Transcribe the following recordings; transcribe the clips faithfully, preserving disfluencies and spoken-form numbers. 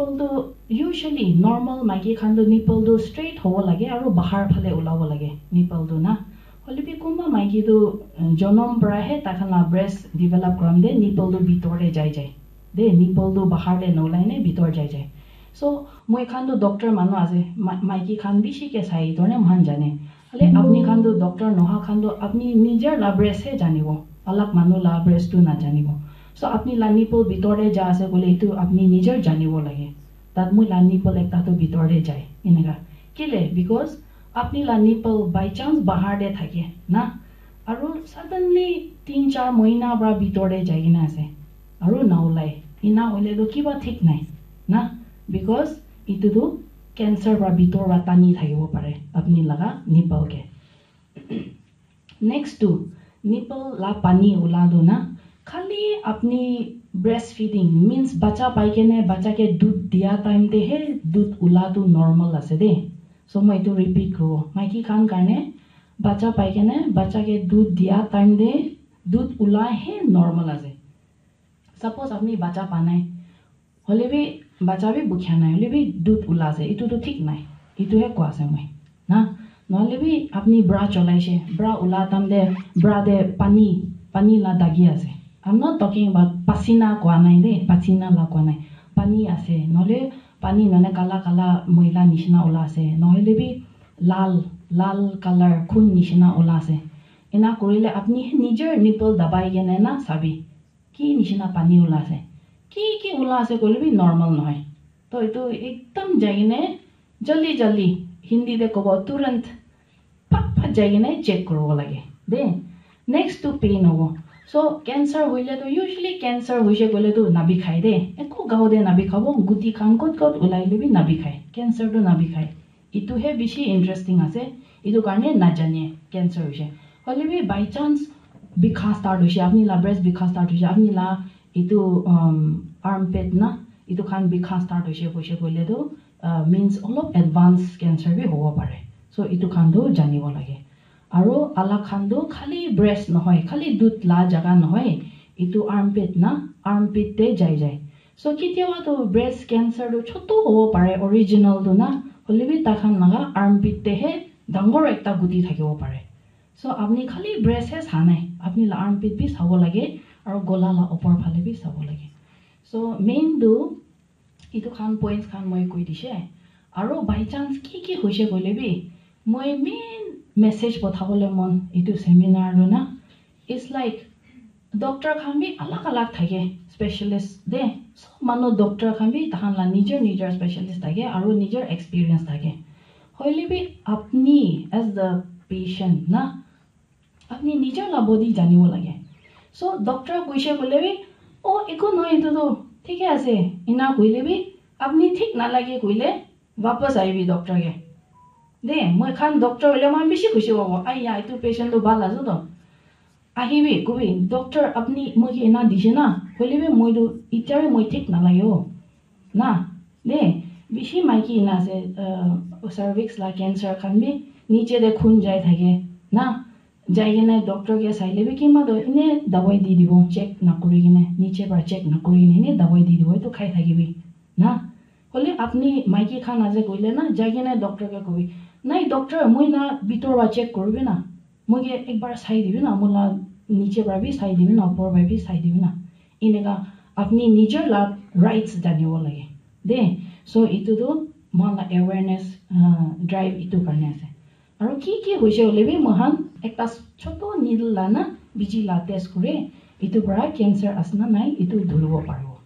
Nipple tu usually normal maiki khan tu nipple tu straight hobo lage aru bahar phale ulabo lage nipple tu na. Hoile bi kunba maiki tu, uh, jonom para he tai khan la breast develop kuram de nipple tu bitor te jai jai. De nipple tu bahar te nolai ne bitor jai jai. So moi khan tu doctor manu ase, ma- maiki khan bishi ke sai tor ne mohan jane. Hale apni khan tu doctor noha khan tu apni nijer la breast he janibo, alak manu la breast tu na janibo. So apni la nipple bitor te ja ase koile itu apni nijer janibo lage. Tat moi la nipple ekta tu bitor te jai. Eneka. Kile? Because apni la nipple by chance bahar te thake na. Aru suddenly tin char mohina pra bitor te jai kena ase. Aru naulai. Ina hoile tu kiba thik nai. Na? Because itu tu cancer pra bitor pra tani thakibo pare. Apni laga nipple ke. Next tu, nipple la pani ula tu na, khali apni breastfeeding, means bacha pai kene, bacha ke dud dia time te he dud ula tu normal ase de. So moi etu repeat kuribo. Maiki khan karne, bacha pai kene, bacha ke dud dia time te, dud ula he normal ase. Suppose apni bacha pa nai, hoile bi bacha bi bukhia nai, hoile bi dud ula ase, itu tu thik nai. Itu he koa ase moi. Na, nohole bi apni bra cholaise, bra ula time te, bra te pani, pani la dagi ase. I'm not talking about pasina koa nai de, pasina la koa nai. Pani ase, nohole pani nohole kala kala moila nishina ula ase, nohole bi lal, lal color khun nishina ula ase. Ena kurile apni nijer nipple dabai kene na sabi. Ki nishina pani ula ase. Ki ki ula ase koile bi normal nohoi. To etu ekdam jai kene jaldi jaldi, Hindi te kobo turant, phat phat jai kene check kuribo lage. De, next tu pain hobo. So cancer hoile tu usually cancer hoise koile tu nabikhai de. Ekko gao de nabikhabo, guti khan kot kot ulaile bi nabikhai. Cancer tu nabikhai. Itu he bishi interesting ase. Itu karne najane cancer hoise. Hoile bi by chance bikha start hoise, apni la breast bikha start hoise, apni la itu, um, armpit na, itu khan bikha start hoise, hoise koile tu, uh, means olop advance cancer bi hobo pare. So itu khan tu janibo lage. Aru alak khan tu khali breast nohoi, khali dud la jaga nohoi, itu armpit na, armpit te jai jai. So kitiaba tu breast cancer tu chotu hobo pare, original tu na, hoile bi tai khan laga armpit te he dangor ekta guti thakibo pare. So apni khali breast he sa nai, apni la armpit bi sabo lage, aru gola la upor phale bi sabo lage. So main tu itu khan points khan moi koi dishe. Aru by chance ki ki hoise koile bi, moi main message pothabole mon itu seminar tu na, it's like doctor khan bi alag alag thake, specialist de. Sob manu doctor khan bi tahan la nijer nijer specialist thake aru nijer experience thake. Hoile bi apni as the patient na, apni nijer la body janibo lage. So doctor koise koile bi, "Oh, eku nohoi, etu tu thike ase," ena koile bi, apni thik nalage koile, wapas ahibi doctor ke. De, moi khan doctor hoile moi bishi khushi hobo. "Ai ya, etu patient tu bhal ase to." Ahibi, kobi, "Doctor, apni moi ke ena dise na, hoile bi moi tu itya bi moi thik nalage o." Na, de, bishi maiki ena ase, uh, cervix la cancer khan bi niche de khun jai thake. Na, jai kene doctor ke saile bi kima to ene dawai di dibo, check nakuri kene, niche para check nakuri kene ene dawai di dibo, etu khai thakibi. Na, hoile apni maiki khan ase koile na, jai kene doctor ke kobi, "Nai doctor, moi na bitor para check kuribi na, moi ke ekbar sai dibi na, moi la niche para bi sai dibi na, upor para bi sai dibi na." Eneka apni nijer la rights janibo lage. De, so etu tu moi la awareness, uh, drive etu karne ase. Aru ki ki hoise hoile bi moi khan ekta chotu needle la na biji la test kure, etu para cancer ase na nai etu dhuribo paribo.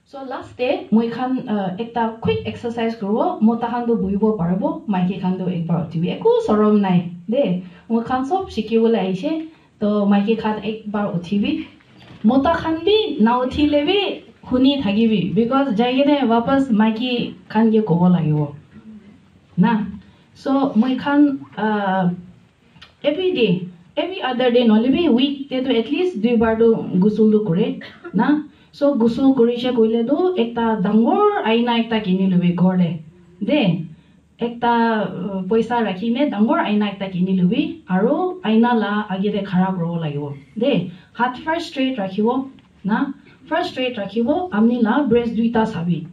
So last te moi khan, uh, ekta quick exercise kuribo, mota khan tu buhibo paribo, maiki khan tu ekbar uthibi, eku sorom nai de, moi khan sob shikibole aise, to maiki khan ekbar uthibi, mota khan bi na uthile bi huni thakibi, because jai kene wapas maiki khan ke kobo lagibo. Na, so moi khan, uh, every day, every other day, nohole bi week te tu at least dui bar tu gusul tu kure na. So gusul kurise koile tu ekta dangor aina ekta kini lobi ghor te. De, ekta, uh, poisa rakhi ne dangor aina ekta kini lobi, aru aina la age te khara kuribo lagibo. De, hat first straight rakhibo na, first straight rakhibo, apni la breast duita sabi.